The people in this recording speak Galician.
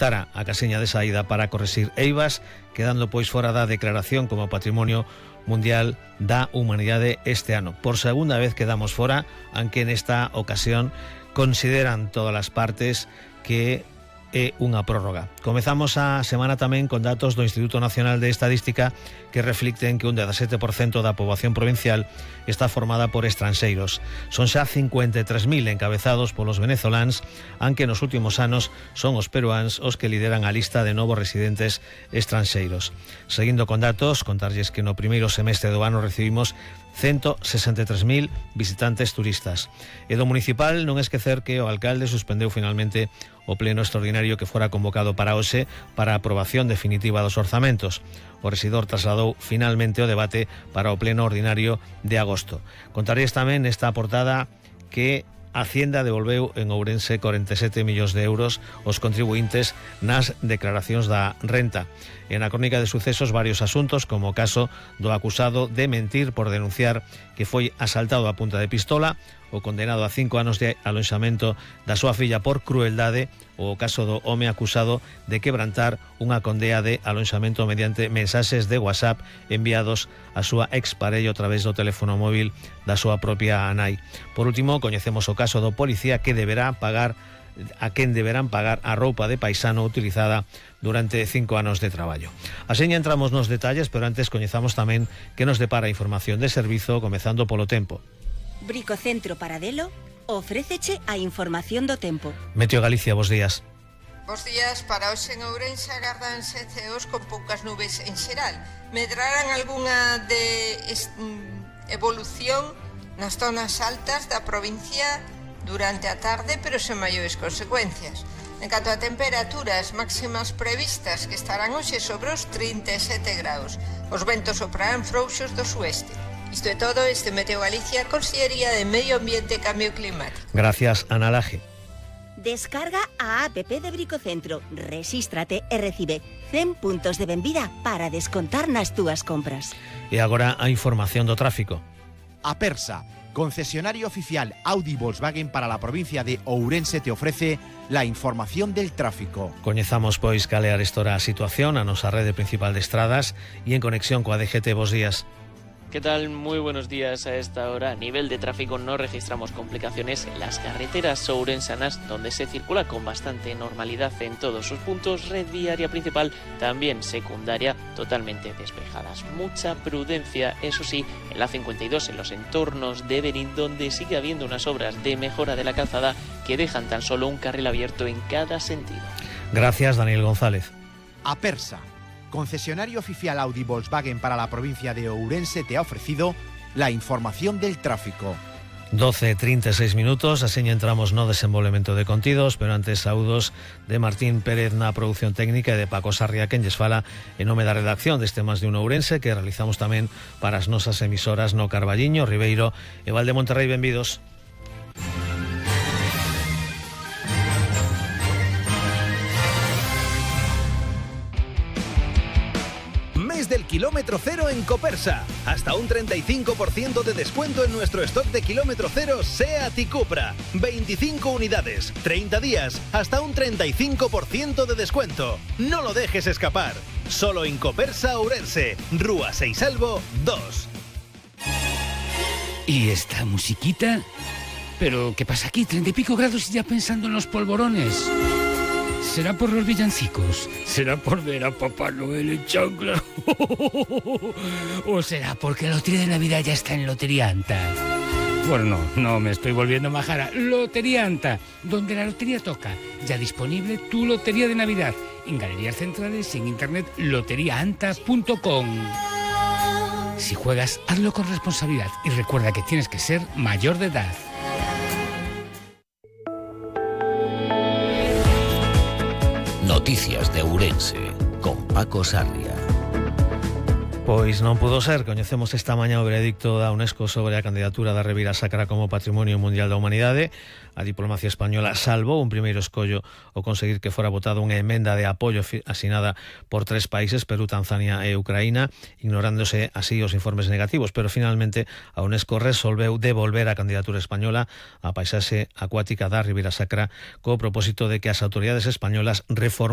Tara a casiña de saída para correxir eivas, quedando pois fora da declaración como Patrimonio Mundial da Humanidade este ano. Por segunda vez quedamos fora, aunque nesta ocasión consideran todas as partes que é unha prórroga. Comezamos a semana tamén con datos do Instituto Nacional de Estadística que reflicten que un 17% da poboación provincial está formada por estranxeiros. Son xa 53.000 encabezados polos venezoláns, aunque nos últimos anos son os peruáns os que lideran a lista de novos residentes estranxeiros. Seguindo con datos, contarlles que no primeiro semestre do ano recibimos 163.000 visitantes turistas. E do municipal non esquecer que o alcalde suspendeu finalmente o pleno extraordinario que fora convocado para hoxe para a aprobación definitiva dos orzamentos. O rexidor trasladou finalmente o debate para o pleno ordinario de agosto. Contaréis tamén nesta portada que a Hacienda devolveu en Ourense 47 millóns de euros aos contribuintes nas declaracións da renta. E na crónica de sucesos varios asuntos, como o caso do acusado de mentir por denunciar que foi asaltado a punta de pistola, o condenado a 5 anos de alonxamento da súa filla por crueldade, ou o caso do home acusado de quebrantar unha condea de alonxamento mediante mensaxes de WhatsApp enviados a súa exparello a través do teléfono móvil da súa propia nai. Por último, coñecemos o caso do policía que deberán pagar a roupa de paisano utilizada durante 5 anos de traballo. Aseña entramos nos detalles, pero antes coñezamos tamén que nos depara a información de servizo, comezando polo tempo. Bricocentro Paradelo ofréceche a información do tempo. Meteo Galicia, bos días. Bos días. Para hoxe en Ourense agárdanse ceos con poucas nubes en xeral. Medrarán algunha de evolución nas zonas altas da provincia durante a tarde, pero sen maiores consecuencias. En canto a temperaturas máximas previstas, que estarán hoxe sobre os 37 graus. Os ventos soprarán frouxos do sueste. Isto é todo. Este Meteo Galicia, Consellería de Medio Ambiente e Cambio Climático. Gracias, Ana Laje. Descarga a app de Bricocentro, rexístrate e recibe 100 puntos de benvida para descontar nas túas compras. E agora a información do tráfico. Apersa, concesionario oficial Audi Volkswagen para la provincia de Ourense, te ofrece la información del tráfico. Coñezamos pois cal é a situación a nosa rede principal de estradas e en conexión coa DGT. Bos días. ¿Qué tal? Muy buenos días. A esta hora, a nivel de tráfico, no registramos complicaciones en las carreteras ourensanas, donde se circula con bastante normalidad en todos sus puntos. Red viaria principal, también secundaria, totalmente despejadas. Mucha prudencia, eso sí, en la 52, en los entornos de Berín, donde sigue habiendo unas obras de mejora de la calzada que dejan tan solo un carril abierto en cada sentido. Gracias, Daniel González. Apersa, concesionario oficial Audi Volkswagen para la provincia de Ourense, te ha ofrecido la información del tráfico. 12:36 minutos, aseña entramos no desenvolvemento de contidos, pero antes saúdos de Martín Pérez na produción técnica e de Paco Sarria, quen lles fala en nome da redacción deste Más de un Ourense, que realizamos tamén para as nosas emisoras no Carballiño, Ribeiro e Val de Monterrey. Benvidos. Del kilómetro cero en Copersa. Hasta un 35% de descuento en nuestro stock de kilómetro cero SEAT y Cupra. 25 unidades, 30 días, hasta un 35% de descuento. No lo dejes escapar. Solo en Copersa Ourense, Rúa Seisalvo 2. ¿Y esta musiquita? ¿Pero qué pasa aquí? 30 y pico grados y ya pensando en los polvorones. ¿Será por los villancicos? ¿Será por ver a Papá Noel en chancla? ¿O será porque la lotería de Navidad ya está en Loterianta? Bueno, no me estoy volviendo majara. Loterianta, donde la lotería toca. Ya disponible tu lotería de Navidad. En galerías centrales y en internet loteriaanta.com. Si juegas, hazlo con responsabilidad y recuerda que tienes que ser mayor de edad. Noticias de Ourense, con Paco Sarria. Pois non pudo ser, coñecemos esta mañá o veredicto da UNESCO sobre a candidatura da Ribeira Sacra como Patrimonio Mundial da Humanidade. A diplomacia española salvou un primeiro escollo ao conseguir que fora votada unha emenda de apoio asinada por 3 países, Perú, Tanzania e Ucraína, ignorándose así os informes negativos, pero finalmente a UNESCO resolveu devolver a candidatura española á paisaxe acuática da Ribeira Sacra co propósito de que as autoridades españolas reformulen